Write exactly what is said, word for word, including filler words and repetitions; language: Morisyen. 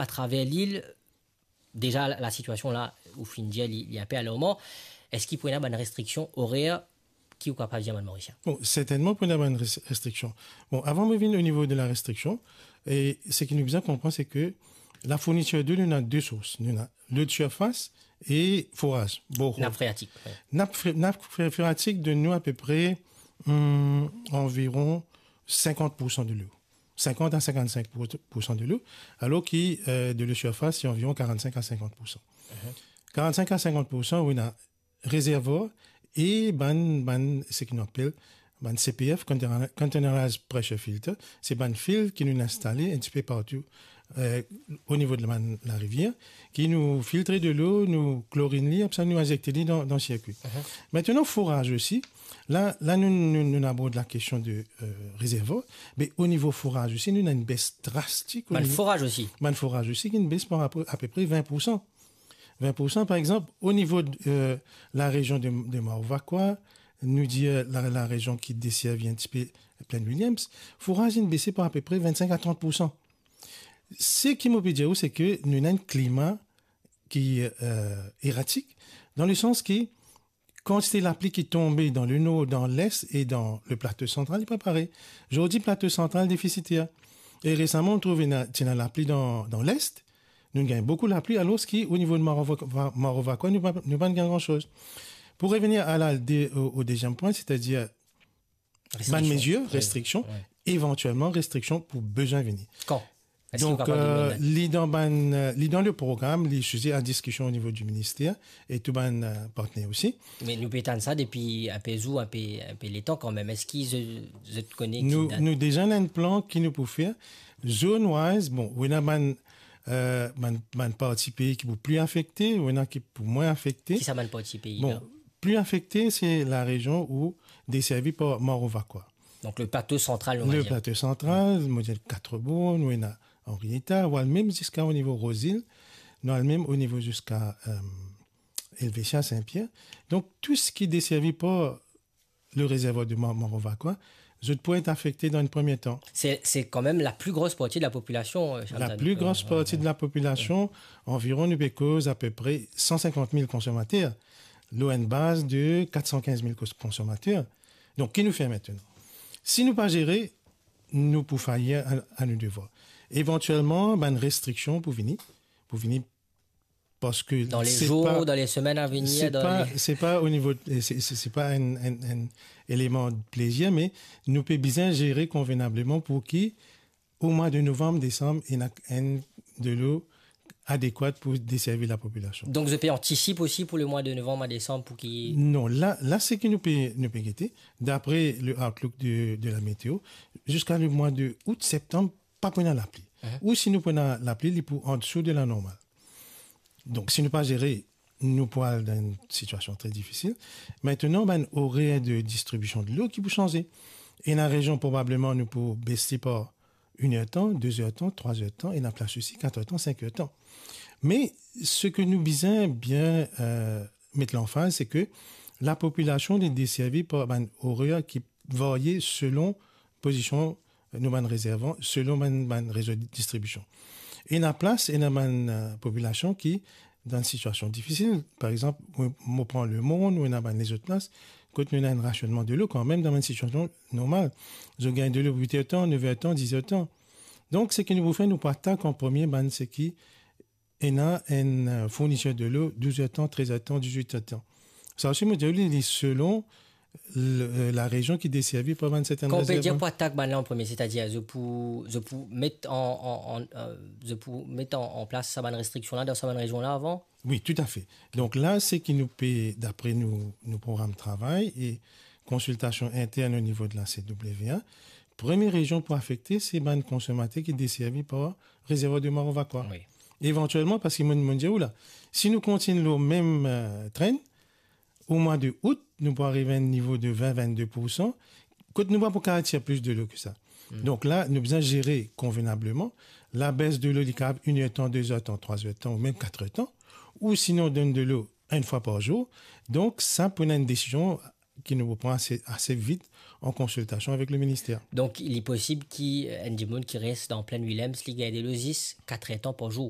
atraver lil, deza la, lasitiasion la, ou finn dir, li, li inpe alarman, eski pou ena bann restriksion orer ki ou kapav dir bann Morisien? Bon, sertennman pou ena bann res-, restriksion. Bon, avan mo vinn o nivo de la restriksion, e seki nou bizin konpran, se ke la fournitir delo, nou ena de sours. Nou ena lo de sirfas e foraz, borehole. Nap freatik, wi. Nap fre-, nap fre-, freatik donn nou apepre, hmm, anviron sinkant pour san delo. Sinkant a sinkant-sink pour san delo, alor ki, euh, delo sirfas, se anviron karant-sink a sinkant pour san. Mhm. Karant-sink a sinkant pour san, ou ena rezervwar e bann, bann, seki nou apel bann C P F, container-, containerized pressure filter, se bann fil ki nou instale enn tipe partou, euh, o nivo de la, larivier, ki nou filtre delo, nou klorinn li, apre sa nou inzekte li dan, dan sirkwi. Mhm. Aster, foraz osi, la, la nou, nou, nou abord lakestion de, euh, rezervwar, me o nivo foraz osi, nou ena enn bes drastik o nivo. Bann foraz osi? Bann foraz osi, ki ena enn bes par rapor apepre vin pour san. Vin pour san, par exanp, o nivo de, euh, larezion de, de Maro Vakoa, nou dir, euh, la, larezion ki deservi enn tipe Plaine Williams, foraz inn bese par apepre vinn-sink a trant pour san. Seki mo pe dir ou, se ke nou ena enn klima ki, euh, eratik, dan le sans ki kantite lapli ki tonbe dan le nor, dan les e dan le plato santral, li pa parey. Zordi, plato santral defisiter. E resaman, nou trouv ena, ti ena lapli dan, dan les, nou gagn boukou lapli, alor ki o nivo de Maro Va-, Va-, Maro Vakoa, nou pa, nou pa gagn gran soz. Pou revenir a la, de, o, o deziem pwin, setadir bann mezir, restriksion, wi, evantielman restriksion pou bizin vini. Kan? Eski ou kapav donn nou dat? Donk, euh, li dan bann, euh, li dan le program, li size a diskision o nivo di minister e tou bann, euh, partner osi. Me nou pe tann sa depi inpe zour, inpe, inpe letan kanmem. Eski zot, zot kone ki dat? Nou, nou deza ena enn plan ki nou pou fer. Zone wise, bon, ou ena bann, euh, bann, bann parti pei ki pou pli afekte, ou ena ki pou mwin afekte. Ki sa bann parti pei la? Bon, pli afekte, se larezion ou deservi par Maro Vakoa. Donk, le plato santral, nou va dir. Le plato santral, mo dir Quatre Bornes, nou ena Henrietta, ou al mem ziska o nivo Rose Hill, nou al mem o nivo ziska, euh, Helvetia, Saint-Pierre. Donk, tou seki deservi par le rezervwar de Mar-, Maro Vakoa, zot pou et afekte dan enn premie tan. Se, se kanmem la pli gros parti de la popilasion, euh, Charles Daniel. La pli gros parti de la popilasion, anviron, nou pe koz apepre san sinkant mil konsomater, lor enn baz de kat san kinz mil kos-, konsomater. Donk, ki nou fer aster? Si nou pa zere, nou pou fayi a, a nou devwar. Evantielman, bann restriksion pou vini, pou vini parski dan le zour, dan le semenn a venir, se pa, se pa o nivo, se, se, se pa enn, enn, enn eleman plezir, me nou pe bizin zere konvenableman pou ki o mwa de novanm, desanm, ena enn delo adekwat pou deservi lapopilasion. Donk, zot pe antisip osi pou le mwa de novanm a desanm pou ki... Non, la, la, seki nou pe, nou pe gete, dapre le outlook de, de la meteo, ziska le mwa de out, septanm, pa pou ena lapli. Mhm. Ou si nou pou ena lapli, li pou andesou de la normal. Donk, si nou pa zere, nou pou al dan enn sitiasion tre difisil. Aster, bann orer de distribision delo ki pou sanze. Ena rezion, probableman, nou pou bese par enn er tan, de zer tan, trwa zer tan, ena plas osi, kat er tan, sink er tan. Me seki nou bizin bien, euh, met lanfaz, se ke lapopilasion, li deservi par bann orer ki varie selon pozision, euh, nou bann rezervan, selon bann, bann rezo distribision. Ena plas, ena bann, euh, popilasion ki dan sitiasion difisil. Par exanp, mo, mo pran Le Morne, ou ena bann lezot plas, kot nou ena enn rasionnman delo kanmem dan bann sitiasion normal. Zot gagn delo wit er tan, nef er tan, dis er tan. Donk, seki nou pou fer, nou pou atak an premie bann seki ena enn, euh, fournitir delo douz er tan, trez er tan, dizwit er tan. Sa osi, mo dir, li, li selon le, euh, larezion ki deservi par bann sertenn rezervan. Kan ou pe dir pou atak bann la an premie, setadir zot pou, zot pou met an, an, an, euh, zot pou met an, an plas sa bann restriksion la dan sa bann rezion la avan? Wi, toutafe. Donk la, seki nou pe, dapre nou, nou program travay e konsiltasion intern o nivo de la C W A, premie rezion pou afekte, se bann konsomater ki deservi par rezervwar de Maro Vakoa. Wi. Evantielman, parski mo, mo dir ou la, si nou kontign lor mem, euh, tren, o mwa de out, nou pou ariv a enn nivo de vin, vinn-de pour san, kot nou pa pou kapav tir plis delo ki sa. Hmm. Donk la, nou bizin zere konvenableman. Labes delo, li kapav enn er tan, de zer tan, trwa zer tan, ou mem kat er tan, ou sinon donn delo enn fwa par zour. Donk, sa pou ena enn desizion ki nou pou pran ase, ase vit an konsiltasion avek le minister. Donk, li posib ki, euh, enn dimoun ki res dan Plaine Williams, li gagn delo zis kat er tan par zour.